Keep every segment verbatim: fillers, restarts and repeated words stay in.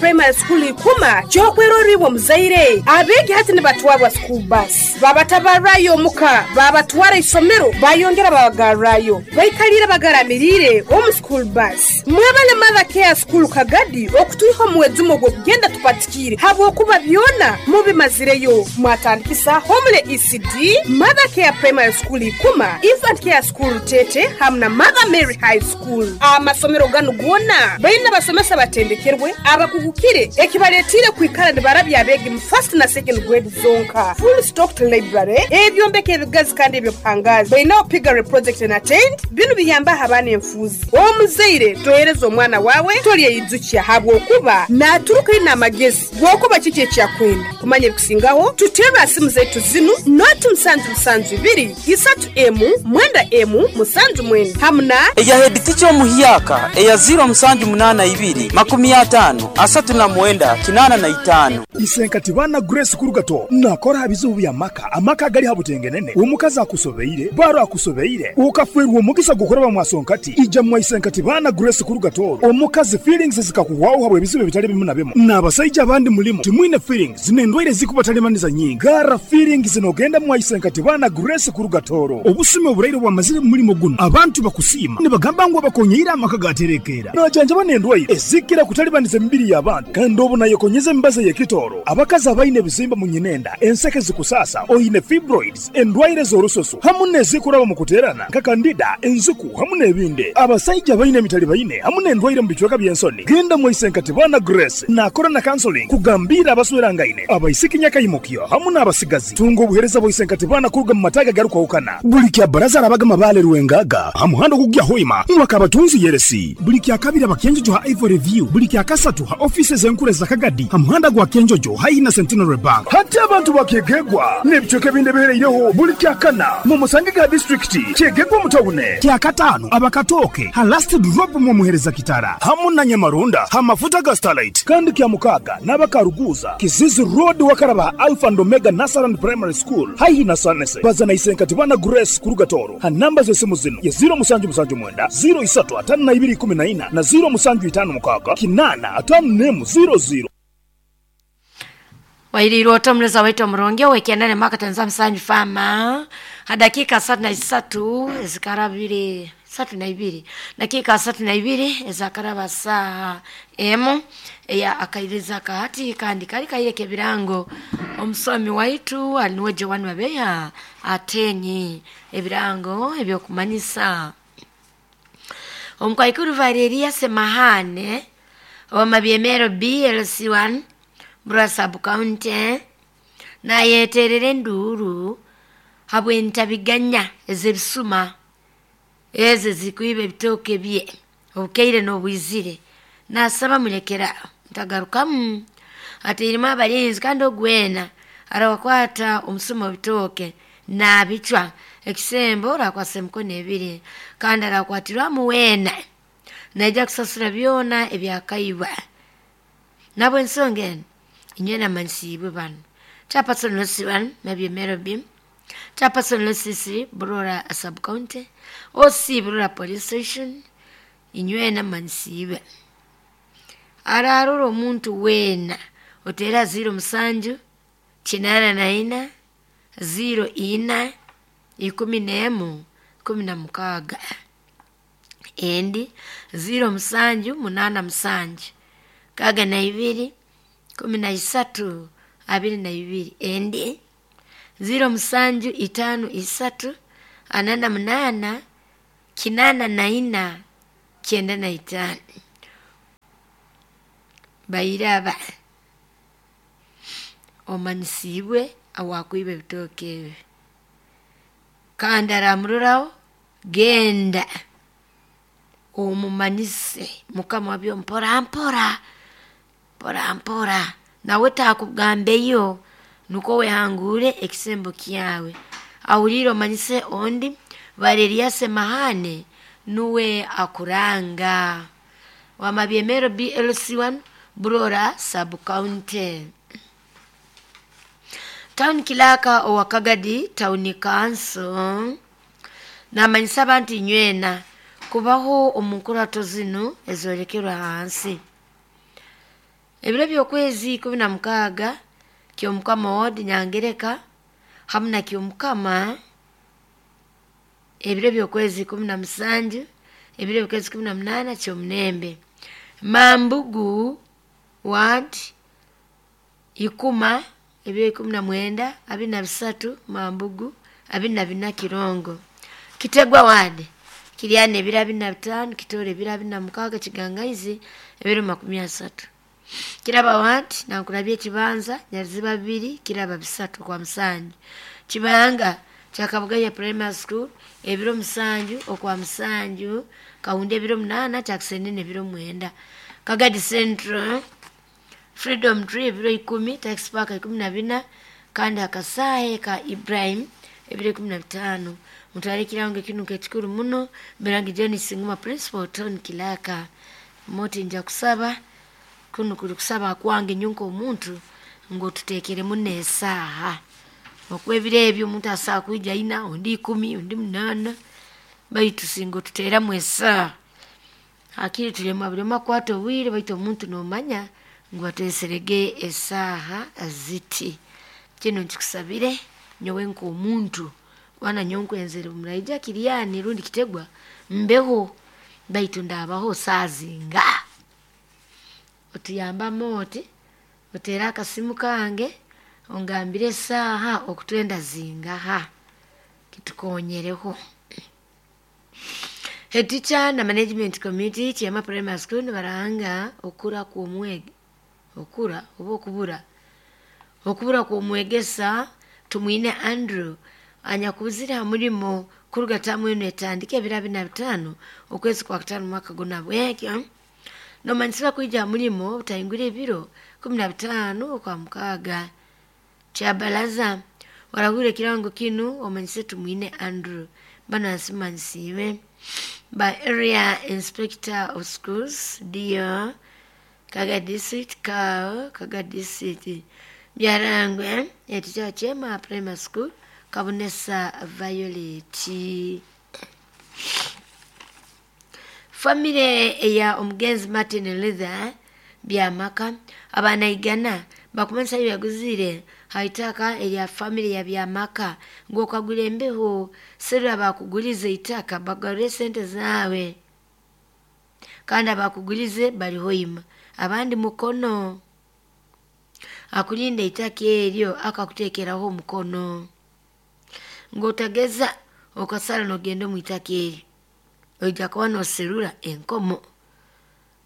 Primary School ikuma kyokweroribwa muzaire abeegi hati nibatwarwa school bus babatabarrayo omuka babatwara isomero bayongera babagarrayo baikalire bagaramirire omu school bus. Mwebale Mother Care School Kagadi okutwiha omwezi ogw'okugenda tupatikire habwokuba byona mubimazireyo. Mwatandikisa Homele E C D, Mother Care Primary School ikuma, Infant Care School Tete hamwe na Mother Mary High School. Amasomero ganu gona baina basomesa batendekerwe abakugukire ekibaletire kwikara nibarabya abegi mu first na second grade zonka. Full stocked library ebyombeko ebigazi kandi ebyobuhangazi baina piggery project na tent binu biyamba abaana enfuzi. Omuzaire tohereza omwana wawe tolyeyijukia habwokuba naturuka ina amagezi gwokuba kiki ekyakwenda kumanya ebikusingaho. Tutera simu zetu zinu noti musanju musanju ibiri isatu emu mwenda emu musanju mwenda hamna eya head teacher omuhyaka eya zero musanju munana ibiri makumi atano asatu na mwenda kinana na itano. Isenkati bana Grace Kurugato nakora habizubu bya maka amaka gali habutengenene omukazi akusobeire baro akusobeire ukafwerwa omugisa gukoraba mwasonkati ija mwa Isenkati bana Grace Kurugato omukazi feelings zikakuwaho habwe bizibu bitali bimu na bimu n'abasajja abandi mulimo timwine feelings n'endwaire zikubatalemaniza nyingi gara feelings nogenda mwa Isenkati bana Grace Kurugatoro obusime oburaire bwamazire mulimo guno abantu bakusiima nibagamba ngu abakonyeira amaka gaterekera najanja banendwaire ezikira kutalibaniza emibiri y'abantu kandi obu nayekonyeza embaza y'ekitoro abakazi abaine ebizimba mu nyinenda enseke zikusasa oyine fibroids endwaire z'orusoso hamu n'ezikuraba mu kuterana nka kandida enziku hamu n'ebindi abasajja abaine emitali baine hamu n'endwaire mu bicweka by'ensoni. Genda mu Isenkati bana Grace nakora na counseling kugambira abaswerangaine abaisiki nyakayimukyo hamu n'abasigazi tunga obuhereza bwa Isenkati bana kuruga mu mataga garukwahukana buli kya baraza arabagama bale rwengaga hamuhando kugya hoima mwaka abatunzi yeresi buli kya kabiri abakenjojo ha Ivory View buli kya kasatu ha offices enkure za Kagadi hamuhanda gwa Kenjojo haina Centenary Bank hati abantu bakegegwa n'ebicweka ebindi bihereireho buli kya kana mu musange ga district kyegegwa mutawune kya katano abakatoke ha last drop mu muhereza kitara hamu na Nyamarunda ha mafuta ga Starlight kandi kya mukaga n'abakaruguza Kizizi Road wakaraba Alpha and Omega Nasaran Primary School haihi na Sanese bazana Isenkati bana Grace Kurugatoro ha namba z'esimu zino ya zero musanju musanju mwenda zero isatu atano na ibiri kumi na ina na zero musanju itano mukaga kinana atano nemu zero zero. Wairiro otomleza wetu mronge wekiendane maka tanza msanyu fama hadakika satu na isatu ezikarabiri satu na ibiri dakika satu na ibiri ezakaraba saa emu eya akairiza kahati kandi kali kaire kebirango omusomi waitu alinuwe Joan Mabeya atenyi ebirango ebyokumanyisa omukwaikuru Valeria Semahane omabyemero B L C one Burasa County nayeterere nduru habwentabiganya ezebisuma eze zikuibe bitoke bye obukeire n'obwizire nasaba mulekera ntagarukamu atirima abalinzi kandi ogwena arawakwata omusuma bitoke nabicwa ekisembo rakwase mkono ebiri kandi arakwatirwa muwena naija kusasura byona ebyakaiba nabo ensonga eno inywe namanyisibwe bano Chairperson Lucy one Mabyemero B Chairperson Lucy C Burora Sub County O C Burora Police Station inywe namanyisibwe ararura omuntu wena otera zero musanju kinana na ina zero ina ikumi n'emu kumi na mukaaga endi zero musanju munana musanju kaga na ibiri kumi na isatu abiri na ibiri endi zero musanju itano isatu anana munana kinana na ina kyenda na itano bairaba omanyisibwe awakwiba ebitooke ebi kandi aramururaho genda omumanyise mukama wabyo mpora mpora mpora mpora nawe takugambeyo nuko wehangure ekisembo kyawe awulire omanyise ondi Valeria Semahane nuwe akuranga wamabyemero B L C one Burora Sub County. Town Kilaka owakagadi Town Council namanyisa abantu inywena kubaho omunkurato zinu ezolekerwa hansi. Ebiro by'okwezi ikumi na mukaaga Kyomukama ward Nyangereka hamu na Kyomukama ebiro by'okwezi ikumi na musanju ebiro by'okwezi ikumi na munaana Kyomunembe. Mambugu ward Ikuma ebiro ikumi na mwenda abiri na bisatu Mambugu abiri na bina Kirongo. Kitegwa ward Kiryana ebiro abiri na bitaano Kitore ebiro abiri na mukaaga Kigangaizi ebiro makumi asatu. Kiraba ward Nankulabye Kibanza Nyaruziba bibiri Kiraba bisatu kwa musanju. Kibanga Kyakabugaya Primary School ebiro musanju okwa musanju Kawundi ebiro munaana Kyakisenene ebiro mwenda. Kagadi Central Freedom Tree ebiro ikumi Tax Park ikumi na bina kandi akasahe ka Ibrahim ebiro ikumi na bitaano. Mutwale ekirango ekinuka ekikuru muno Mirangi John Singuma Principal Tony Kilaka. Moti nja kusaba kuno kuli kusaba kwange nyonka omuntu ng'otuteekeremu n'esaaha okuba ebiro ebyo omuntu asobola kwija ina ondi ikumi ondi munaana baitu singa otuteeramu esaaha hakiri tulema buli omu akwata obwire baitu omuntu noomanya ngu batweserege esaaha ziti. Kinu nkikusabire nyowe nk'omuntu kuba nyowe nkwenzere muraija Kiryani rundi Kitegwa mbeho baitu ndaabaho saaha zinga. Otuyambamu oti oteere akasimu kange ongambire esaaha okutwenda zingaha kitukonyereho. Head teacher na management committee Kiema Primary School nibaranga okura kw'omwegi okura oba okubura okubura kw'omwegesa Tumwine Andrew anyakubuzire ha murimo kuruga tamu enu etandika ebiro abiri na bitaano okwezi kwa kutaano mwaka guna bwekyo nomanyisibwa kwija ha murimo obutahingura ebiro kumi na bitaano okwa mukaaga. Kyabalaza warahwire ekirango kinu omanyise Tumwine Andrew banu ansimanyisiibwe by area inspector of schools D O Kaga district Kao Kaga district Byarangwe ekikya Kyema Primary School Kabonesa Violet. Famire eya omugenzi Martin Luther Byamaka abaana igana bakumanyisa byaguzire haitaka erya famire ya Byamaka ngu okagura embeho serura bakugulize itaka bagarure esente zaawe kandi abakugulize bari hoima abandi mukono akulinda itaka eryo akakuteekeraho omukono ng'otageza okasara n'ogenda omu itaka eryo oija kuba noserura enkomo.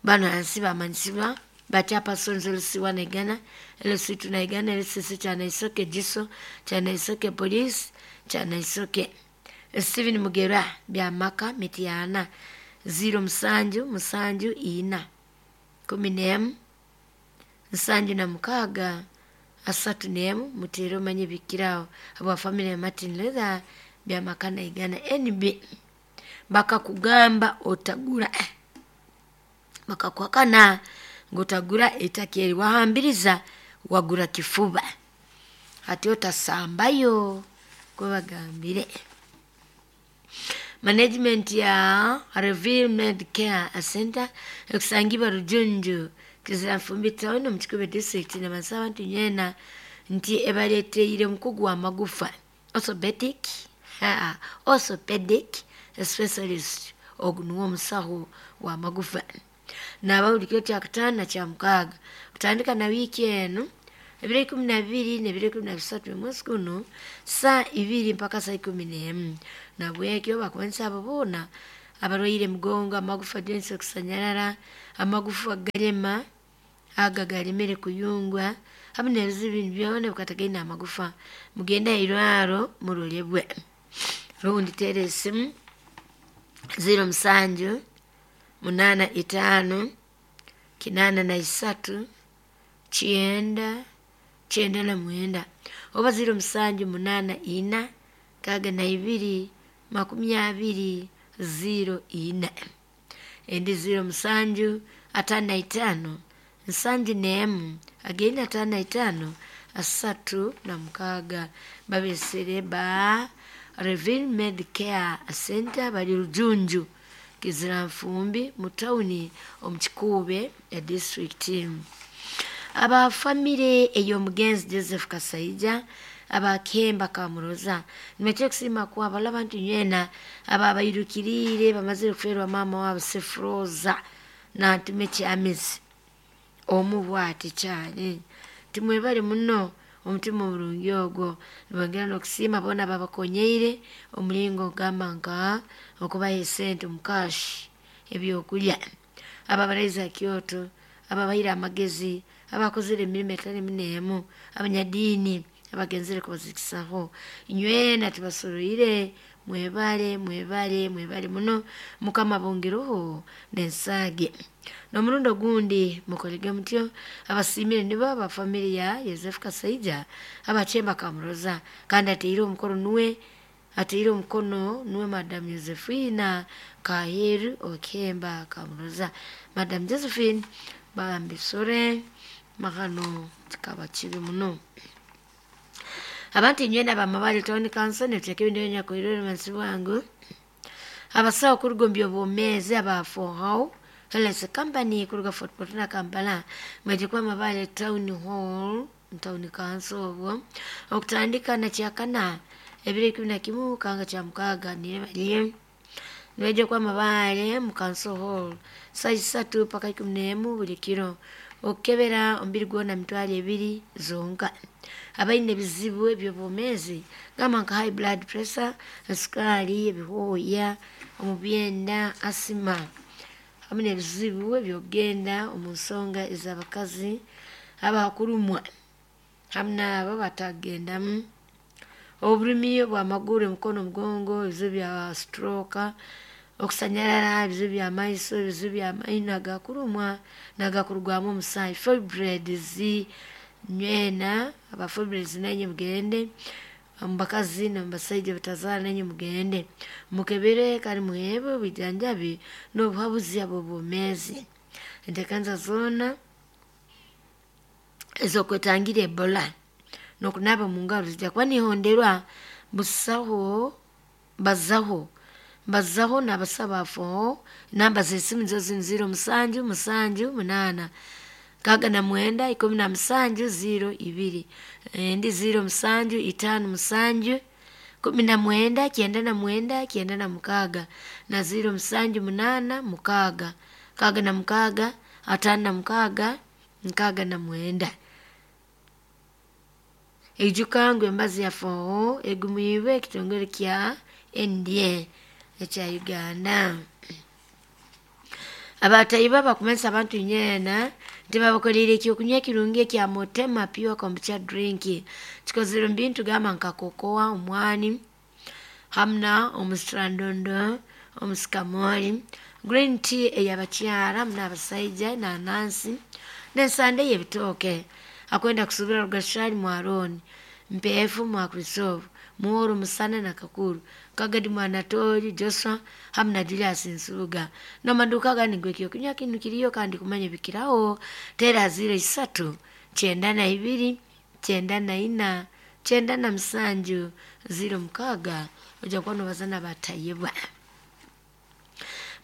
Bano hansi bamanyisibwa bachapersons L C one Igana, L C two Naigana, L C C Kyanaisoke Giso, Kyanaisoke Police, Kyanaisoke. Stephen Mugera Byamaka Mityana zero musanju musanju ina kumi n'emu nsanju na mukaaga asatu n'emu muteere omanye bikirawo habwa family ya Martin Luther Byamaka Naigana N B bakakugamba otagura bakakuhakana ng'otagura ettaka eri wahambiriza wagura kifuba hati otasambayo kwebagambire. Management ya Reveal Medicare Center ekusangibwa Rujunju Kiziranfumbi Town omu Kikuube district nabansaba abantu nyeena nti ebaleeteire omukugu w'amagufa orthopedic orthopedic specialist ogu nuwe omusaho w'amagufa naaba buli kiro kyakutaano na kyamukaaga kutandika na wiiki enu ebiro ikumi na bibiri n'ebiro ikumi na bisatu omwezi gunu saa ibiri mpaka saa ikumi n'emu. Nabwekyo bakumanyisa abo boona abarwaire emigongo amagufa joints okusanyarara amagufa galema aga galemere kuyungwa hamu n'ebizibu bindi byona ebikatagaine amagufa mugende hairwaro murolebwe rundi teera esimu ziro musanju munaana itaano kinaana na isatu kyenda kyenda na mwenda oba ziro musanju munaana ina nkaaga na ibiri makumi abiri ziro ina endi ziro musanju ataano na itaano nsanju n'emu againe ataano na itaano asatu na mukaaga babesere ba Reveal Medicare Center bali Rujunju Kiziranfumbi mu tawuni omu Kikuube disitulikiti. Aba famire ey'omugenzi Joseph Kasaija abakemba Kamuroza nimekye kusiima kwabala abantu nywena ababairukiriire bamazire kuferwa mama wabo Sefroza nantume kyamizi omu bwati kyali timwebale muno omutima omurungi ogwo. Nibongera n'okusiima boona babakonyeire omulingo ogamba nka okubaha esente omukashi ebyokulya, ababaraiza Kyoto, ababaire amagezi, abakozere emirimo etali munemu, abanyadiini abagenzere kubazikisaho. Nywena tubasoroire, mwebale mwebale mwebale muno, Mukama bongereho n'ensaage. N'omurundi ogundi mukolege mutyo. Abasiimire nibo aba famire ya Yosefu Kasaija abachemba Kamuroza, kandi ateire omukono nuwe ateire omukono nuwe Madam Josephina Kaheru Okemba Kamuroza. Madam Josephine bambisore makano kikaba kibi muno. Abantu nywena bamabale Town Council neteka ebintu ebinyakwirwe mansi bwangu. Abasawo kuruga omu by'obwomeezi aba Fohau Health Company kuruga Fort Portal na Kampala mweje kwa Mabale Town Hall Town Council obwo okutandika na kyakana ebiro ikumi na kimu kanga kya mukaaga nirebaliye nibaija kwa Mabale mu Council Hall saa isatu paka ikumi n'emu buli kiro okukebera omubiri gwona mitwaro ebiri zonka. Abaine ebizibu eby'obwomeezi gamba nka high blood pressure, esukari, ebihooya omu byenda, asima hamwe n'ebizibu eby'okugenda omu nsonga ez'abakazi abakurumwa hamwe n'abo batakugendamu, oburumi obw'amaguru, emikono, omugongo, ebizibu bya stroke, okusanyarara, ebizibu by'amaiso, ebizibu by'amaino agakurumwa n'agakurugwamu omusaayi, fibroids nywena aba fibroids nanye mugende, omu bakazi n'omu basaija batazaara nanye mugende mukebere kandi muheebwe obwijanjabi n'obuhabuzi ab'obwomeezi. Enteekanisa zoona ez'okwetangira Ebola n'okunaaba omu ngaro zijja kuba nihonderwa busaho bazaho bazaho n'abasaba afoho. Namba z'esimu nizo zinu ziro musanju musanju munaana nkaaga na mwenda ikumi na musanju ziro ibiri, endi ziro musanju itaano musanju kumi na mwenda kyenda na mwenda kyenda na mukaaga na ziro musanju munaana mukaaga nkaaga na mukaaga ataano na mukaaga nkaaga na mwenda. Eijuka ngu embazi ya foho egumiibwe ekitongole kya N D A ekya Uganda. Abataiba bakumanisa abantu nyeena nti babakoleire ekyokunywa ekirungi ekya Motema Pure Kombucha Drink kikozere omu bintu gamba nka kokoa, omwani hamwe omusitrandondo, omusikamoli, green tea ey'abakyara hamwe n'abasaija, enanansi n'ensande y'ebitooke. Akwenda kusubira Rugashari mwaroni Mpeefu mwa Kristofu Muhoro Musana na Kakuru Kagadi Mwanatori Joshua hamwe na Julius Nsubuga. N'amaduka gandi ngu ekyokunywa kinu kiriyo kandi kumanya bikiraho tera ziro isatu kyenda na ibiri kyenda na ina kyenda na musanju ziro mukaaga ojja kuba nobazana batayebwa.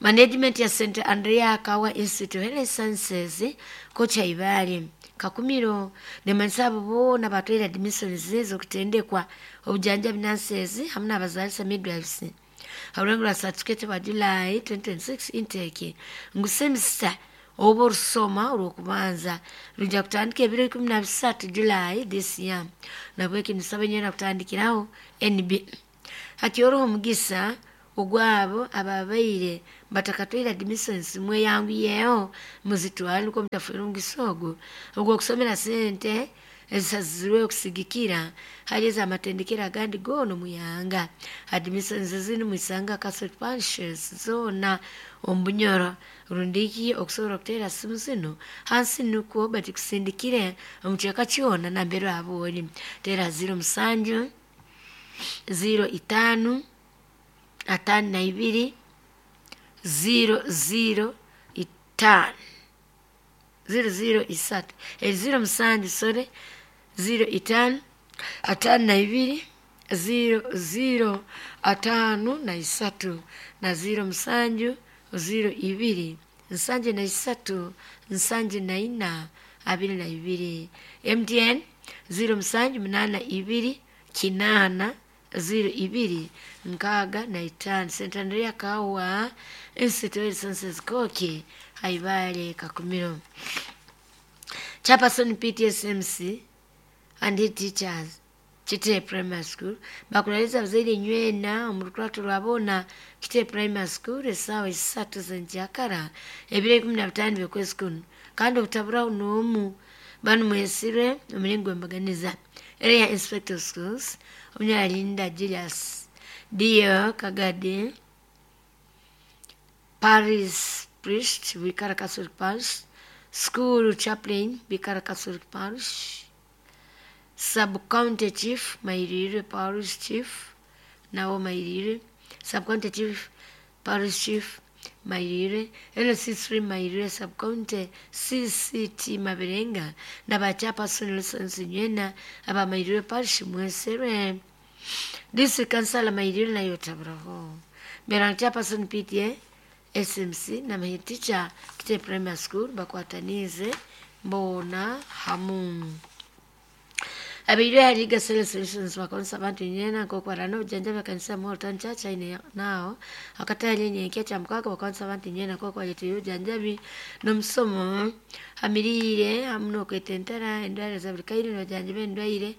Management ya Saint Andrea Kawa Institute of Health Sciences kocha Ibale Kakumiro nemanisa abo boona batwaire admissions ez'okutendekwa obujanjabi nurses hamwe n'abazaalisa midwives harulengo rwa certificate bwa July twenty twenty-six intake ngu semester oba orusoma orw'okubanza rujja kutandika ebiro ikumi na bisatu July this year. Nabweki nisaba nyena kutandikiraho N B hakyoroho omugisa ogwabo ababaire batakatwaire admissions mweyanguyeho muzitwale nukwo mutafuire omugisa ogwo ogw'okusomera sente ezisazirwe okusigikira hali ez'amatendekero agandi goona omuyanga. Admissions zinu mwisanga Catholic parishes zoona omu Bunyoro rundiki okusobora okuteera simu zinu hansi nukwo batikusindikire omu kyeka kyona nambere aba ori. Teera ziro musanju ziro itaano ataano na ibiri ziro ziro itaano ziro ziro isatu ziro musanju sore ziro itaano ataano na ibiri ziro ziro ataano na isatu na ziro musanju ziro ibiri nsanju na isatu nsanju na ina abiri na ibiri. M T N ziro musanju munana ibiri kinana ziro ibiri nkaaga na itaano. Saint Andrea Kawa Institute Census Koki Haibale Kakumiro. Chairperson P T S M C and head teachers, Kite Primary School, bakulaliza abazaire nywena omu rukurato rwabona Kite Primary School esaawa isatu zenjakara ebiro ikumi na bitaano by'okwezi kuno, kandi obutaburaho n'omu. Banu mwesirwe omulingo gw'embaganiza. Area Inspector of Schools Omunyalinda Julius Dio Kagade, Parish Priest, Bikara Catholic Parish, School Chaplain, Bikara Catholic Parish, Sub-County Chief, Mairire Parish Chief, nawo Mairire, Sub-County Chief, Parish Chief, Mairire, L C three Mairire Sub-County, C C T Mabirenga, na ba Chairperson Lawrence Nywena aba Mairire Parish mwesere. District Council Mairire nayo taburaho. Berang Chairperson P T A S M C na head teacher Kite Primary School bakwatanize mbona hamu. Abaire hari Gasele Solutions bakonsa abantu nyena nkokwarana obujanjabi akanisa Morton Church aine nao akatale nyenkya kya mukaga. Bakonsa abantu nyena nkokwaletera obujanjabi n'omusomo hamirire hamu n'okwetentara endwara za buli kaire, nojanjaba endwaire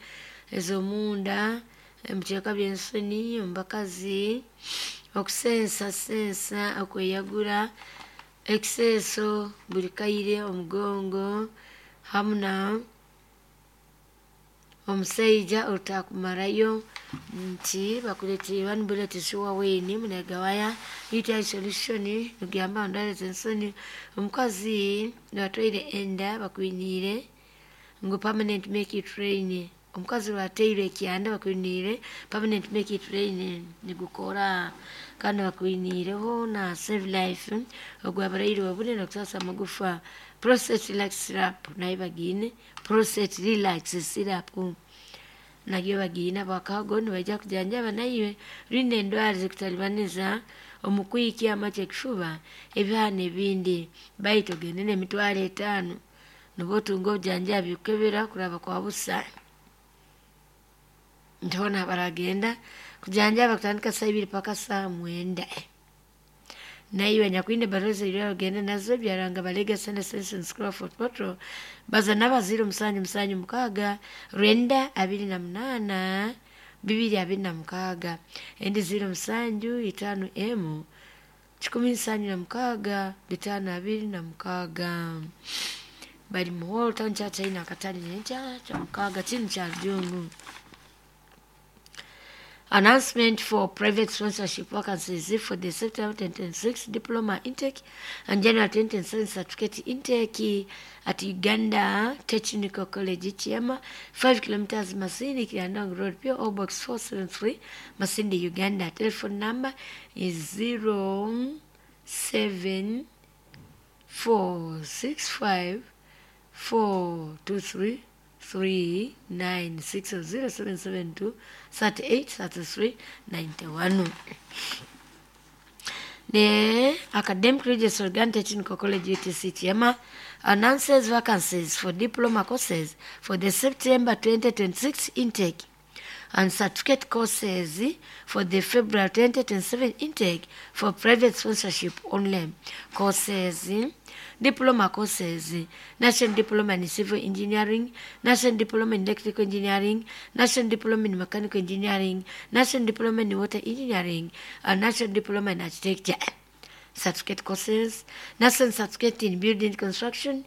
ez'omunda, emukyeka by'ensoni omu bakazi, okusensa sensa, okweyagura ekiseeso buli kaire, omugongo hamu na omusaija olutakumarayo nti bakuleetera one bullet sure win munegawaya U T I solution niguyamba ndwara z'ensoni. Omukazi lwatwaire enda bakwiniire ngu permanent make it rain. Omukazi lwateire ekyanda bakwiniire permanent make it rain nigukora, kandi bakwiniireho na save life ogwabaraire obune nokusasa amagufa. Prostate Relax syrup nayo bagiine, Prostate Relax syrup nagyo bagiine. Abakago nibaija kujanjaba naiwe rinda endwara zikutalibaniza omukwikya amaki, ekifuba, ebihana ebindi, baitu ogende n'emitwaro etaano nibwo otunga obujanjabi kukebera kuraba kwa busa. Ntibona baragenda kujanjaba kutandika saa ibiri paka saa mwenda. Naiwe nyakwine baroza ibyo ogende nazo byaranga balega Sene Solutions Crawford Potro baza naba ziro musanju musanju mukaaga rwenda abiri na munaana bibiri abiri na mukaaga, endi ziro musanju itaano emu kikumi nsanju na mukaaga bitaano abiri na mukaaga. Bali mu Hall Town Church aine akatale nenkya kya mukaaga kinu kya Rujungu. Announcement for private sponsorship vacancies for the September twenty twenty-six diploma intake and January twenty twenty-seven certificate intake at Uganda Technical College Chiama, five kilometers Masindi Kiandong Road, P O Box four seven three, Masindi, Uganda. Telephone number is zero seven four six five four two three three nine six zero seven seven two thirty eight thirty three ninety one. The Academic Registrar, Uganda Technical College U T C Chiama, announces vacancies for diploma courses for the September twenty twenty-six intake and certificate courses for the February twenty twenty-seven intake for private sponsorship only. Courses: diploma courses, National Diploma in Civil Engineering, National Diploma in Electrical Engineering, National Diploma in Mechanical Engineering, National Diploma in Water Engineering, and National Diploma in Architecture. Certificate courses, National Certificate in Building Construction,